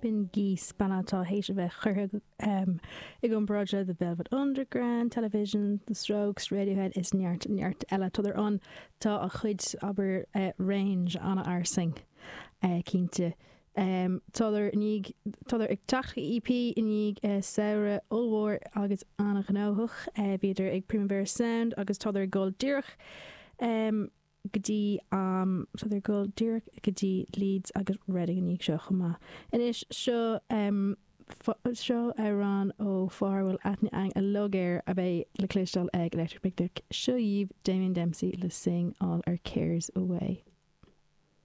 B'in Geese, banna atá théis a bheith curtha i gcomparáid le The Velvet Underground, Television, The Strokes, Radiohead is neart neart eile. Tádar ann, tá a chuid, abair, range an-fhairsing, cinnte. Tádar i ndiaidh, tádar ag teacht le EP i ndiaidh samhradh ollmhór agus an-ghnóthach. Bhíodar ag Primavera Sound agus tádar ag dul díreach go dtí, tádar ag dul díreach go dtí Leeds agus Reading i ndiaidh seo chomh maith. Anois, seo, seo amhrán ó fear a bhfuil aithne againn uilig air a bheidh le cloisteáil ag Electric Picnic. Seo dhaoibh Damien Dempsey le Sing All Our Cares Away.